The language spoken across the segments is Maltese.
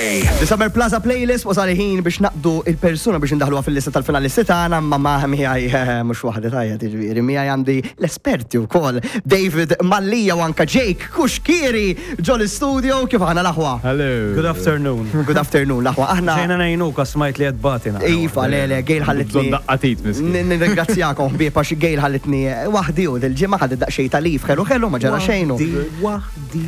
The Summer Plaza Playlist wasal il-ħin biex naqdu il-persuna biex indaħluha fil-lista tal-finalisti tagħna ma ma miegħi eh, mhux waħda tajja tiġifieri miegħi għandi l-esperti wkoll David Mallija u anka Jake Kuxkieri ġo l-istudio kif aħna l-aħwa. Hello. Good afternoon. Good afternoon l-aħwa aħna. Ġejna ngħinuk għax smajt li qed tbati naqra. Iva, le, le, Gail ħallitni. Bżonn daqqa tit miskin. Nirringrazzjakom ħbieb għax Gail ħallitni waħdi u dil-ġimgħa ħadet daqsxejn ta' leave ħelu ħelu ma ġara xejn. Waħdi.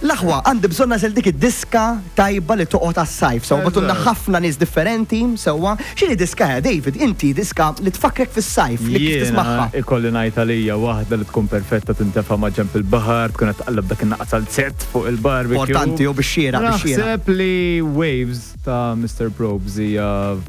L-aħwa, għandi bżonn nagħżel dik id-diska tajba li toqgħod għas-sajf. Sewwa bagħtulna ħafna nies differenti, sewwa. X'inhi diska, eh, David, inti diska li tfakkrek fis-sajf, li kif tismagħha? Jiena ikolli ngħid għalija waħda li tkun perfetta tintefa' ma' ġenb il-baħar, tkun qed tqalleb dak in-naqas għal-zett fuq il-barbecue. Importanti u bix-xieraq, bix-xieraq. Naħseb li Waves ta' Mister Probz hija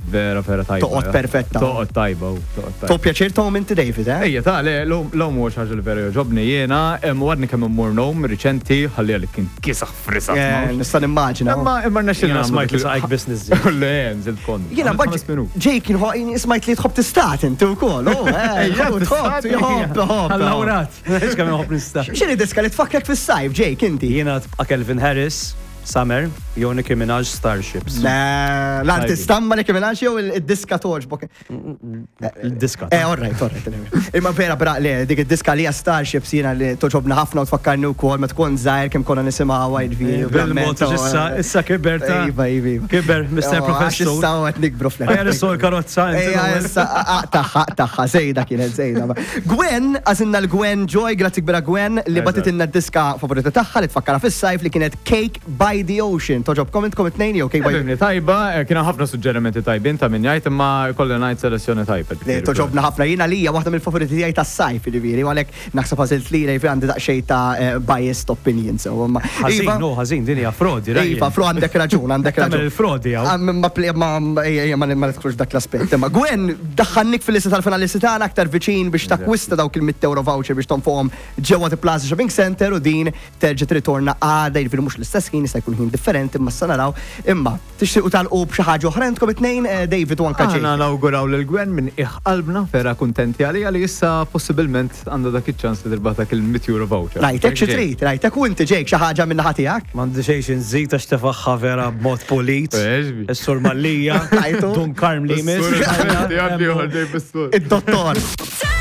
vera vera tajba. Toqgħod perfetta. Toqgħod tajba u toqgħod tajba. Tieħu pjaċir tgħum inti David, eh? Ejja ta' le, l-għum huwa xi ħaġa li vera jogħġobni jiena, u għadni kemm immur ngħum riċenti, ħalli għalik kien kiesaħ frisat. Eh, nista' nimmaġina. Imma imma rnexxielna Jiena smajt li saqajk biss niżżil. Le, nżilt kont. Jiena mbagħad Jake kien smajt li tħobb tistat inti wkoll. Oh, eh, tħobb, tħobb, tħobb. Allawrat, kemm inħobb nistat. X'inhi diska li tfakkrek fis-sajf, Jake, inti? Jiena tibqa' Calvin Harris. Summer, jew Nicki Minaj Starships. Le, l-artista ma Nicki Minaj jew id-diska toġbok. Il-diska. Eh, all right, all right. Imma vera, bra, le, dik id-diska li Starships jiena li toġobna ħafna u tfakkarni wkoll meta tkun żgħir kemm konna nisimgħuha jiġifieri. Bil-mod issa issa kiber ta' Iva, iva, iva. Kiber, Mr. Oh, Professor. Issa qed nikbru fl Ejja nissu l-karozza. Ejja, issa aqtaħħa, aqtaħħa, żejda kienet żejda. Gwen, għażilna l-Gwen Joy, grazzi kbira Gwen, li bagħtitilna d-diska favorita tagħha li tfakkarha fis-sajf li kienet Cake by the Ocean. Togħġobkom intkom it-tnejn jew Cake by Fehmni tajba, kien hemm ħafna suġġerimenti tajbin ta' min jgħid imma jkolli ngħid selezzjoni tajba. Le, togħġobna ħafna. Jien għalija waħda mill-favoriti tiegħi tas-sajf, jiġifieri, u għalhekk naħseb għażilt lilha, jiġifieri għandi daqsxejn ta' biased opinion sew. Imma Ħażin, Iva, no, ħażin, din hija frodi, Ryan. Iva, fro għandek raġun, għandek raġun. Tagħmel il-frodi hawn. Ah, Ma ma ejja, ma ma nidħlux f'dak l-aspett. Imma Gwen, daħħalnik fil-lista tal-finalisti tagħna aktar viċin biex takkwista dawk il-100 euro voucher biex tonfoqhom ġewwa The Plaza Shopping Center u din terġa' tirritorna għada, jiġifieri mhux l-istess ħin, jista' jkun ħin differenti, imma issa naraw. Imma, tixtiequ tagħlqu b'xi ħaġa oħra intkom it-tnejn, David u anke Jake? Aħna nawguraw lil Gwen minn qiegħ qalbna, vera kuntenti għaliha li issa possibilment għandha dak iċ-ċans li tirbaħ dak il-100 euro voucher. Rajtek xi trid, rajtek u inti Jake xi ħaġa min-naħa tiegħek? M'għandi xejn xi nżid għax tefagħha vera b'mod pulit. Is-Sur Mallia, Rajtu? Dun Karm li jmiss. Id-Id-dottor.